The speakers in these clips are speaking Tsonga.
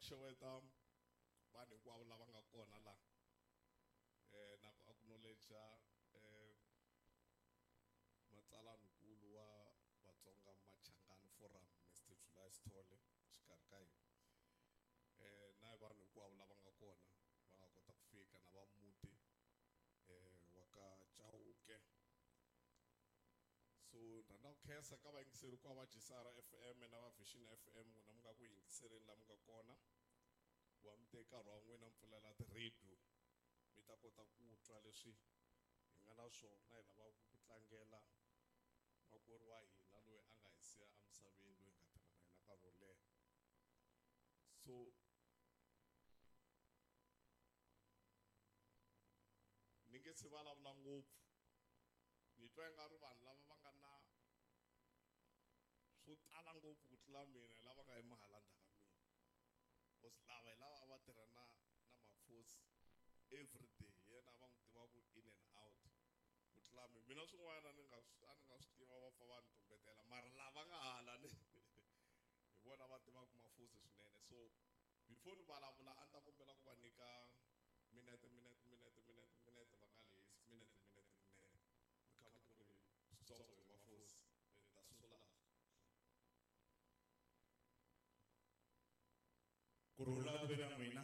xeweta vanhu hinkwavo lava nga kona laha na ku acknowledge matsalaninkulu wa Vatsonga Machangani Forum Mr July Sithole xikarhi ka hina na vanhu hinkwavo lava nga kona va nga kota ku fika na va muti wa ka Chauke. So rhandza ku khensa ka vayingiseri kwa va GCR FM na va Vision FM n'wina mi nga ku yingiseleni la mi nga kona wa mi teka nkarhi wa n'wina mi pfulela ti-radio mi ta kota ku twa leswi hi nga na swona hi lava ku tlangela makwerhu wa hina loyi a nga hi siya emisaveni loyi hi nga tirha na yena nkarhi wo leha. So ni nge se vulavula ngopfu ni twa ingari vanhu lava va nga na swo tala ngopfu ku tlula mina lava nga yima hala ndzhaku ka mina because lava hi lava a va tirha na Mafosi every day yena va n'wi tiva ku in and out ku tlula mina. Mina swin'wana a ni nga swi tiva va pfa va ni tumbetela mara lava nga hala ni hi vona va tivaka Mafosi swinene. So before ni vulavula a ni ta kombela ku va nyika minete va nga lehisi minete mi kha ku ri switsongo hi Mafosi ni ta sungula. Kurhula ku ve na n'wina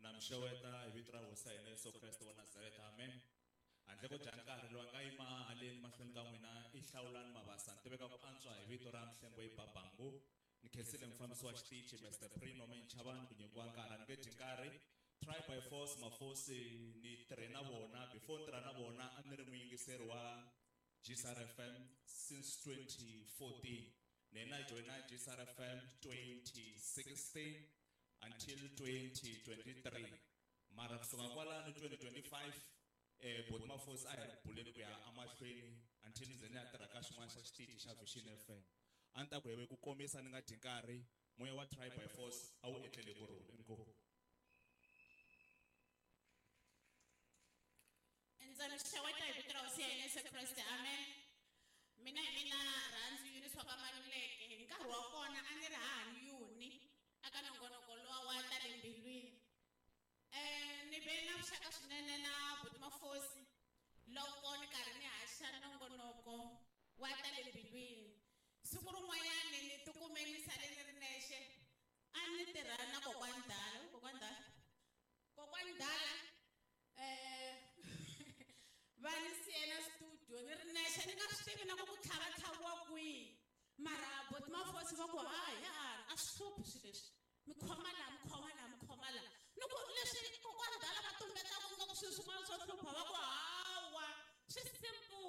na mi xeweta hi vito ra Hosi ya hina Yesu Kreste wa Nazareta, amen. Handle ko dya nkarhi loyi a nga yima haleni mahlweni ka n'wina i Hlawulani Mabasa ni tiveka ku antswa hi vito ra Mhlengo Babangu. Ni khensile mufambisi wa xitichi Mr Prino Menchavani ku nyikiwa nkarhi a ni nge dyi nkarhi. Try by force Mafosi ni tirhe na vona before ni tirha na vona a ni ri muyingiseri wa GCR FM since 2014. Then I joined GCR FM 2016 until 2023. Mara kusuka kwalano 2025 bot Mafosi a hi ri buleni ku ya emahlweni until ndzi ya tirha ka xin'wana xa xitichi xa Vision FM. A ni ta ku ku komisa ni nga dyi nkarhi moya wa Try by Force a wu etlele ku rhula. Inkomu. Ndza mi xeweta hi vito ra Hosi ya hina Yesu Kreste, amen. Mina hi mina Rhandzu Eunice wa ka Maluleke. Hi nkarhi wa kona a ni ri hahani Yuni aka nongonoko lowa wa ta le mbilwini. Ni ve na vuxaka swinene na buti Mafosi loko ni karhi ni haxa nongonoko wa ta le mbilwini. Siku rin'wanyani ni tikume ni sale ni ri nexe a ni tirha na kokwani Dala. Kokwani Dala va ni siyela studio ni ri nexe ni nga swi tivi na ku tlhavatlhaviwa kwihi mara buti Mafosi va ku hayi a swi hluphi swilo leswi mi khoma laha mi khoma laha mi khoma laha ni ku leswi kokwani Dala va tumbetaka nga ku swilo swin'wana swo hlupha va ku hawa swi simple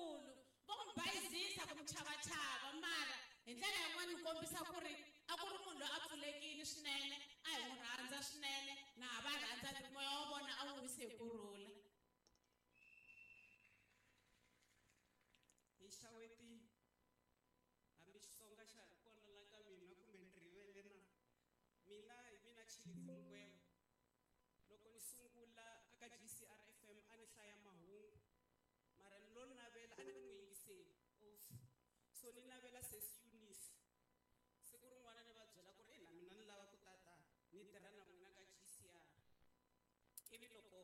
va ku bayizisa ku mi chavachava mara hi ndlela yin'wana ni kombisa ku ri a ku ri munhu loyi a pfulekile swinene a hi n'wi rhandza swinene na ha va rhandza ni moya wa vona a wu wisi hi ku rhula. Hi xaweti hambi Xitsonga xa ha ri kona la ka mina kumbe ni rivele na mina hi mina Tshilidzi Mukweva. Loko ni sungula aka GCR FM a ni hlaya mahungu mara ni lo navela a ni ri muyingiseli also so ni navela sesi Eunice siku rin'wana ni va byela ku ri na mina ni lava ku tata ni tirha na n'wina ka GCR. Ivi loko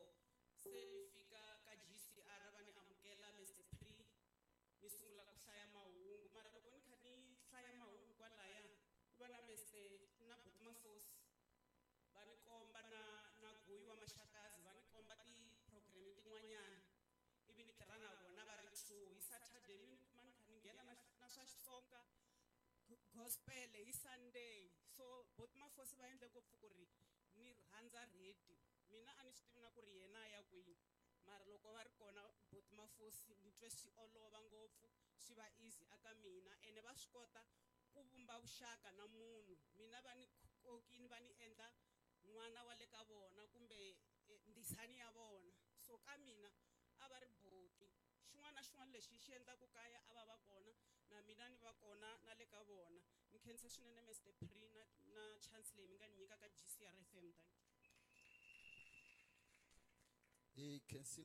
se ni fika ka GCR va ni amukela Mr Pre ni sungula ku hlaya mahungu mara loko ni kha ni hlaya mahungu kwalaya ku va na Mr na buti Mafosi va ni komba na Guyi wa Maxakazi va ni komba ti-program tin'wanyana ivi ni tirha na vona va ri two hi Saturday mi ni kuma ni kha ni nghena na swa Xitsonga gospel hi Sunday. So buti Mafosi va endle ngopfu ku ri ni rhandza radio mina a ni swi tivi na ku ri yena a ya kwini mara loko va ri kona buti Mafosi ni twe swi olova ngopfu swi va easy aka mina ene va swi kota ku vumba vuxaka na munhu. Mina va ni kokini va ni endla n'wana wa le ka vona kumbe ndisani ya vona so ka mina a va ri buti xin'wana na xin'wana lexi xi endlaku kaya a va va kona na mina ni va kona na le ka vona. Ni khensa swinene Mr Pre na chance leyi mi nga ni nyika ka GCR FM. Thank you. Hi khensi